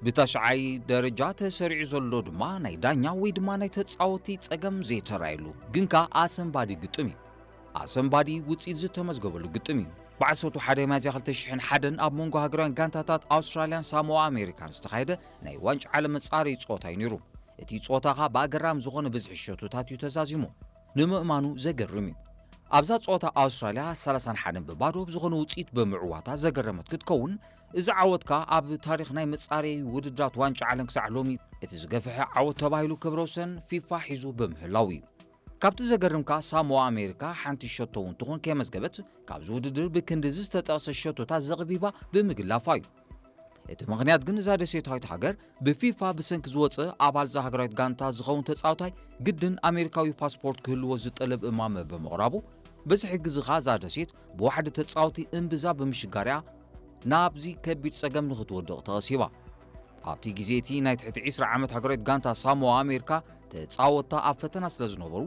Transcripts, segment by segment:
ብታሽዓይ ደረጃ ተሰሪዑ ዘሎ ድማ ናይ ዳኛ ወይ ድማ ናይ ተጻወቲ ጸገም ዘይተራየሉ ግን ከኣ ኣሰንባዲ ግጥም እዩ። ኣሰንባዲ ውጽኢት ዝተመዝገበሉ ግጥም እዩ። ብ ዓሰርተ ሓደ ሚያዝያ ክልተ ሽሕን ሓደን ኣብ መንጎ ሃገራውያን ጋንታታት ኣውስትራልያን ሳሞኣ ኣሜሪካን ዝተኻየደ ናይ ዋንጫ ዓለም መጻረዪ ጸወታ እዩ ነይሩ። እቲ ጸወታ ኸኣ ብኣገራሚ ዝኾነ ብዝሒ ሸቶታት እዩ ተዛዚሙ። ንምእማኑ ዘገርም እዩ። ኣብዛ ጸወታ ኣውስትራልያ ሰላሳን ሓደን ብባዶ ብዝኾነ ውጽኢት ብምዕዋታ ዘገረመት ክትከውን፣ እዚ ዓወት ከኣ ኣብ ታሪኽ ናይ መጻረዪ ውድድራት ዋንጫ ዓለም ክሳዕ ሎሚ እቲ ዝገፍሐ ዓወት ተባሂሉ ክብረ ወሰን ፊፋ ሒዙ ብምህላው እዩ። ካብቲ ዘገርም ከኣ ሳሞኣ ኣሜሪካ ሓንቲ ሸቶ እውን ትኹን ከየመዝገበት ካብዚ ውድድር ብክንዲ እዚ ዝተጠቕሰ ሸቶታት ዘቕቢባ ብምግላፋ እዩ። እቲ ምኽንያት ግን እዛ ደሴታዊት ሃገር ብፊፋ ብሰንኪ ዝወጸ ኣባል እዛ ሃገራዊት ጋንታ ዝኸውን ተጻዋታይ ግድን ኣሜሪካዊ ፓስፖርት ክህልዎ ዝጠለብ እማመ ብምቕራቡ፣ በዚ ሕጊ እዚ ኸኣ እዛ ደሴት ብዋሕዲ ተጻወቲ እምብዛ ብምሽጋር እያ ናብዚ ከቢድ ጸገም ንኽትወድቕ ተቐሲባ። ኣብቲ ግዜ እቲ ናይ ትሕቲ ዒስራ ዓመት ሃገራዊት ጋንታ ሳሞኣ ኣሜሪካ ተጻወትታ ኣብ ፈተና ስለ ዝነበሩ፣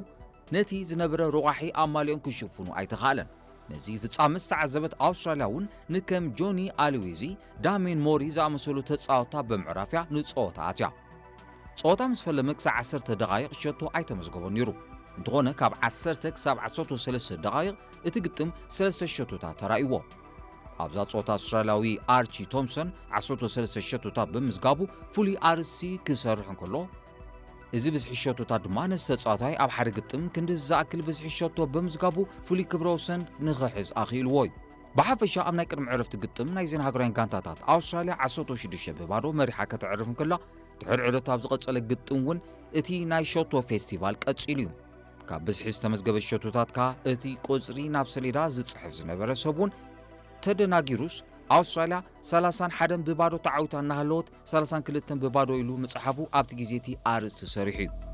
ነቲ ዝነበረ ሮቓሒ ኣማሊኦም ክሽፍኑ ኣይተኻእለን። ነዚ ፍጻመ ዝተዓዘበት ኣውስትራልያ እውን ንከም ጆኒ ኣልዌዚ፣ ዳሜን ሞሪ ዝኣመሰሉ ተጻወትታ ብምዕራፍያ ንጸወታ ኣትያ። ጸወታ ምስ ፈለመ ክሳዕ ዓሰርተ ደቓይቕ ሸቶ ኣይተመዝገቦን ነይሩ። እንተኾነ ካብ ዓሰርተ ክሳብ ዓሰርተ ሰለስተ ደቓይቕ እቲ ግጥም ሰለስተ ሸቶታት ተራእይዎ። ኣብዛ ጸወታ ኣውስትራልያዊ ኣርቺ ቶምሰን ዓሰርተ ሰለስተ ሸቶታት ብምዝጋቡ ፍሉይ ኣርእስቲ ክሰርሕ እንከሎ፣ እዚ ብዝሒ ሸቶታት ድማ ነዚ ተጻዋታይ ኣብ ሓደ ግጥም ክንዲ ዝኣክል ብዝሒ ሸቶ ብምዝጋቡ ፍሉይ ክብረ ወሰን ንኽሕዝ ኣኽኢልዎ እዩ። ብሓፈሻ ኣብ ናይ ቅድሚ ዕረፍቲ ግጥም ናይዘን ሃገራውያን ጋንታታት ኣውስትራልያ ዓሰርተ ሽዱሽተ ብባዶ መሪሓ ከተዕርፍ እንከላ፣ ድሕሪ ዕረፍቲ ኣብ ዝቐጸለ ግጥም እውን እቲ ናይ ሸቶ ፌስቲቫል ቀጺሉ እዩ። ካብ ብዝሒ ዝተመዝገበ ሸቶታት ከኣ እቲ ቁጽሪ ናብ ሰሌዳ ዝጽሕፍ ዝነበረ ሰብ እውን ተደናጊሩስ ኣውስትራልያ ሰላሳን ሓደን ብባዶ ተዓዊታ እናሃለወት ሰላሳን ክልተን ብባዶ ኢሉ ምጽሓፉ ኣብቲ ግዜ እቲ ኣርእስቲ ሰሪሑ እዩ።